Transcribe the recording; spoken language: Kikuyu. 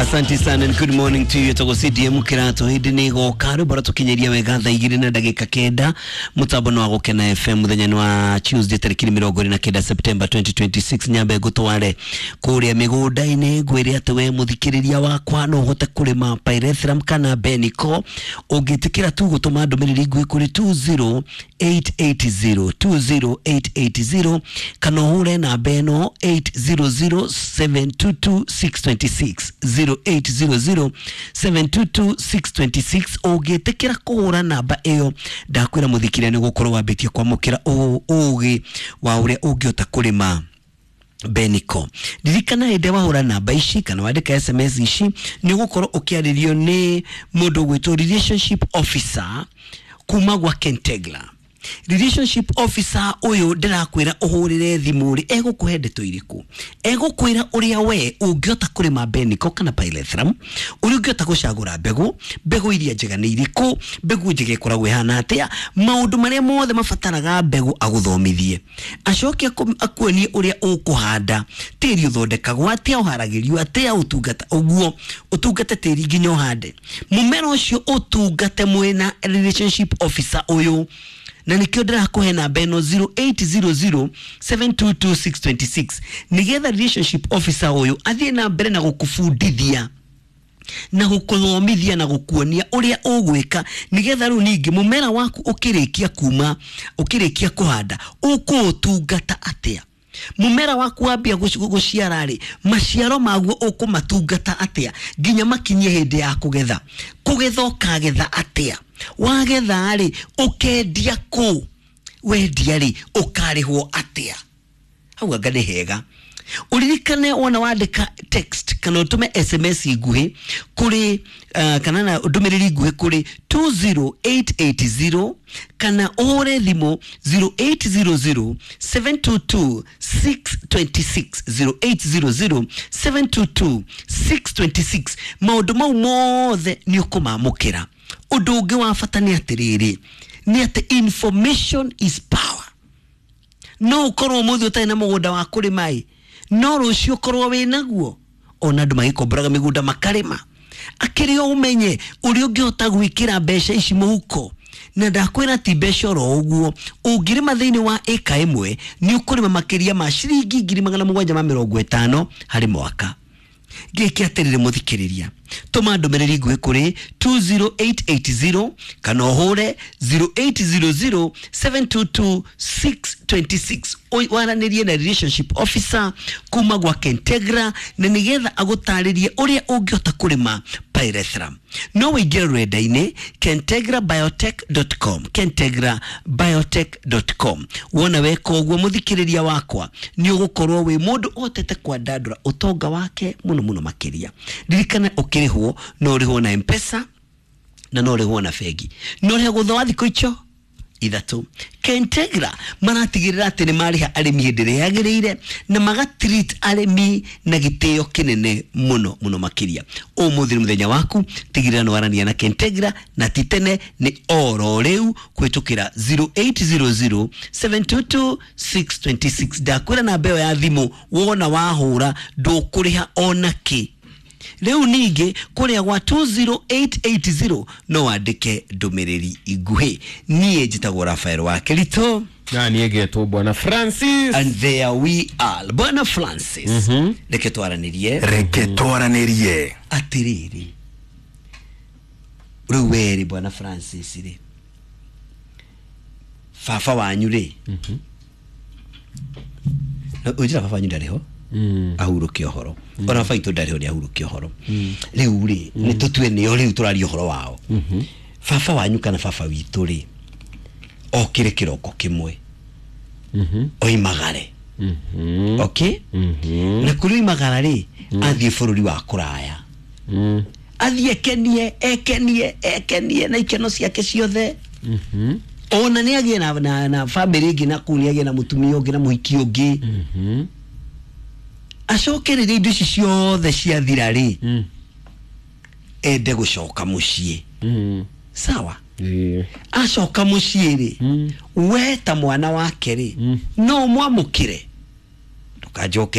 Asante sana and good morning to you. Togo CDM kirato hindi ni goka rwimbo ratukinyiria wega thaa igĩrĩ na ndagĩka kenda mũtambo nĩ wa Gũkena FM mũthenya nĩ wa Tuesday tarĩki 29 September 2026. Nyambe ngũtware kũrĩa mĩgũnda-inĩ ngwĩre atĩ we mũthikĩrĩria wakwa no ũhote kũrĩma pyrethrum kana Benico ũngĩtĩkĩra tu gũtũma ndũmĩrĩri nguhĩ kũrĩ 20880 20880 kana ũhũre namba ĩno 800722626 0800722626. Ũngĩtĩkĩra kũhũra namba ĩyo ndakwĩra mũthikĩrĩria nĩ gũkorwo wambĩtie kwamũkĩra ũgĩ wa ũrĩa ũngĩhota kũrĩma Benico. Ririkana hĩndĩ wahũra namba ici kana wandĩka SMS ici nĩ ũgũkorwo ũkĩarĩrio nĩ mũndũ ũgwĩtwo relationship officer kuma gwa Kentegla. Relationship officer ũyũ ndĩrakwĩra ũhũrĩre thimũ rĩ, egũkũhe ndeto irĩkũ? Egũkwĩra ũrĩa we ũngĩhota kũrĩma Benico kana pyrethrum, ũrĩa ũngĩhota gũcagũra mbegũ, mbegũ iria njega nĩ irĩkũ, mbegũ njega ĩkoragwo ĩhana atĩa, maũndũ marĩa mothe mabataraga mbegũ agũthomithie, acoke akuonie ũrĩa ũkũhanda, tĩri ũthondekagwo atĩa, ũharagĩrio atĩa, ũtungata ũguo ũtungate tĩri nginya ũhande mũmera ũcio, ũtungate mwĩna relationship officer ũyũ. Na nikio ndĩrakũhe namba ĩno 0800722626 nĩgetha relationship officer ũyũ athiĩ na mbere na gũkũbundithia na gũkũthomithia na gũkuonia ũrĩa ũgwĩka nĩgetha rĩu ningĩ mũmera waku ũkĩrĩkia kuma ũkĩrĩkia kũhanda ũkũũtungata atĩa, mũmera waku wambia gũciara rĩ, maciaro maguo ũkũmatungata atĩa nginya makinyie hĩndĩ ya kũgetha, kũgetha ũkagetha atĩa, wagetha rĩ ũkendia kũ, wendia rĩ ũkarĩhwo atĩa. Hau anga nĩ hega uririkane wona wandĩka text kana ũtũme SMS nguhĩ kũrĩ kana na ndũmĩrĩri nguhĩ kũrĩ 20880 kana ũhũre thimũ 0800722626 0800722626. Maũndũ mau mothe nĩ ũkũmamũkĩra. Ũndũ ũngĩ wa bata nĩ atĩrĩrĩ, nĩ atĩ information is power. No ũkorwo ũmũthĩ ũtarĩ na mũgũnda wa kũrĩma ĩ, no rũciũ ũkorwo wĩ naguo. Ona andũ magĩkomboraga mĩgũnda makarĩma, akĩrĩ o ũmenye ũrĩa ũngĩhota gwĩkĩra mbeca ici mũhuko. Na ndakwĩra ti mbeca oro ũguo, ũngĩrĩma thĩinĩ wa ĩka ĩmwe nĩ ũkũrĩma makĩria ma ciringi 750,000 harĩ mwaka. Gĩke atĩrĩrĩ mũthikĩrĩria, tũma ndũmĩrĩri nguhĩ kũrĩ 20880 kana ũhũre 0800722626 waranĩrie na relationship officer kuma gwa Kentegra na nĩgetha agũtarĩrie ũrĩa ũngĩhota kũrĩma pyrethrum. No ũingĩre rũrenda-inĩ kentegrabiotech.com, kentegrabiotech.com. Wona weka ũguo mũthikĩrĩria wakwa nĩ ũgũkorwo wĩ mũndũ ũhotete kwandandũra ũtonga wake mũno mũno makĩria. Ririkana ũkĩrĩhwo no ũrĩhwo na M-Pesa na no ũrĩhwo na bengi, no ũrĩhagwo thutha wa thikũ icio ithatũ. Kentegra maratigĩrĩra atĩ nĩ marĩha arĩmi hĩndĩ ĩrĩa yagĩrĩire na magatreat arĩmi na gĩtĩo kĩnene mũno mũno makĩria. Ũmũthĩ nĩ mũthenya waku, tigĩrĩra nĩ warania na Kentegra na ti tene nĩ oro rĩu kũhĩtũkĩra 0800722626. Ndakwĩra namba ĩyo ya thimũ wona wahũra ndũkũrĩha ona kĩ. Rĩu ningĩ kũrĩa gwa 20880 no wandĩke ndũmĩrĩri nguhĩ. Niĩ njĩtagwo Rafael wa Kĩritũ na niĩ ngetwo Bwana Francis. And there we are. Bwana Francis, reke twaranĩrie. Reke twaranĩrie. Atĩrĩrĩ, rĩu werĩ Bwana Francis rĩ, baba wanyu rĩ, ũnjĩra baba wanyu ndarĩ ho ahurũke ũhoro, ona baba itũ ndarĩ ho nĩ ahurũke ũhoro. Rĩu rĩ nĩ tũtue nĩo rĩu tũraria ũhoro wao. Baba wanyu kana baba witũ rĩ, okĩre kĩroko kĩmwe oimagare, okay, na kũrĩ oimagara rĩ athiĩ bũrũri wa kũraya, athiĩ ekenie ekenie ekenie na ikeno ciake ciothe, ona nĩ agĩe na bamĩrĩ ĩngĩ na kũu nĩ agĩe na mũtumia ũngĩ na mũhiki ũngĩ, acoke rĩrĩa indo ici ciothe ciathira rĩ ende gũcoka mũciĩ. Sawa, acoka mũciĩ rĩ, we ta mwana wake rĩ no ũmwamũkĩre? Ndũkanjokerie.